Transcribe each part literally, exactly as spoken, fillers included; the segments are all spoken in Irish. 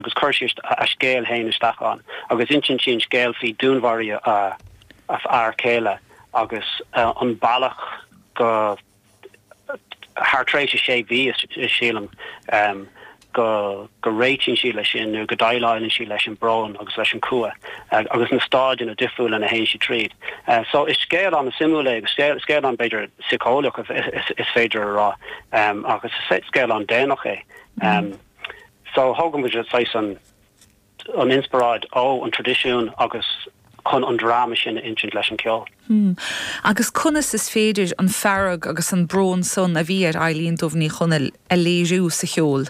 Agus chuir sí a scéal féin isteach ann agus insíonn sí an scéal faoi dúnmharaíodh a a fear céile agus an bealach go thar tréimhse sé mhí, sílim, go go réitíonn sí leis sin nó go déileálann sí leis an brón agus leis an cumha agus na staideanna difriúla ina théann sí tríd. So is scéal an-suimiúil é agus scéal scéal an b'fhéidir síceolaíoch is féidir a rá agus is scéal an-déanach é. So thóg muid saghas an an inspioráid ó an traidisiún agus chun an dráma sin a insint leis an ceol. Hmm. Agus conas is féidir an fearg agus an brón san a bhí ar Eilín Dubh Ní Chonaill a léiriú sa cheol?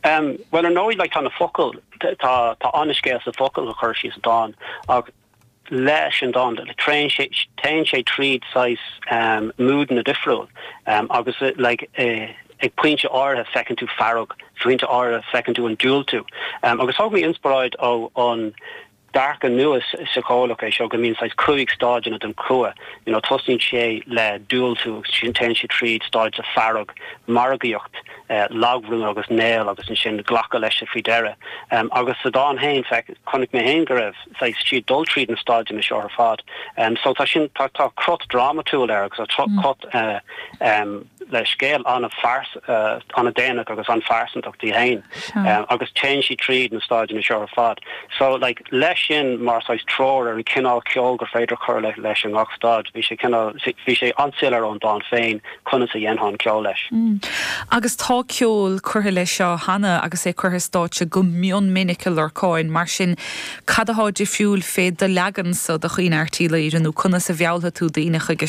Um, well ar ndóigh like, tá na focail tá tá an-scéal sa focail a chuir sí sa dán ach leis an dán téann sé téann sé tríd saghas um, moodanna difriúil um, agus like, uh, ag pointe áirithe feiceann tú fearg, pointe áirithe feiceann tú an diúltú. Um, agus thóg mé inspioráid ó an dearcadh nua síceolaíoch é seo go mbíonn saghas cúig stáideanna den chumha. You know, tosaíonn sé le diúltú agus sin téann sé tríd stáid de fearg, margaíocht, uh, lagbhrú agus néal agus ansin glacadh leis faoi dheireadh. Um, agus sa dán féin chonaic mé féin go raibh saghas sí ag dul tríd na stáideanna seo ar fad. Um, so tá sin tá tá crot drámatúil air agus tá mm. crot uh, um, le scéal an-phars uh, an-déanach agus an-phearsantach di féin um, agus téann sí tríd na stáideanna seo ar fad. So like, leis sin mar saghas treoir ar an cineál ceol gur féidir cur le leis an ngach staid, bhí sé bhí sé an-soiléir ón dán féin conas a dhéanfá an ceol leis. Mm. Agus tá ceol curtha leis seo cheana agus é curtha stáitse go mion minic a Lorcáin mar sin cad atá difriúil fé do leagan-sa de Chaoineadh Art Uí Laoghaire nó conas a mheallfaidh tú daoine chuige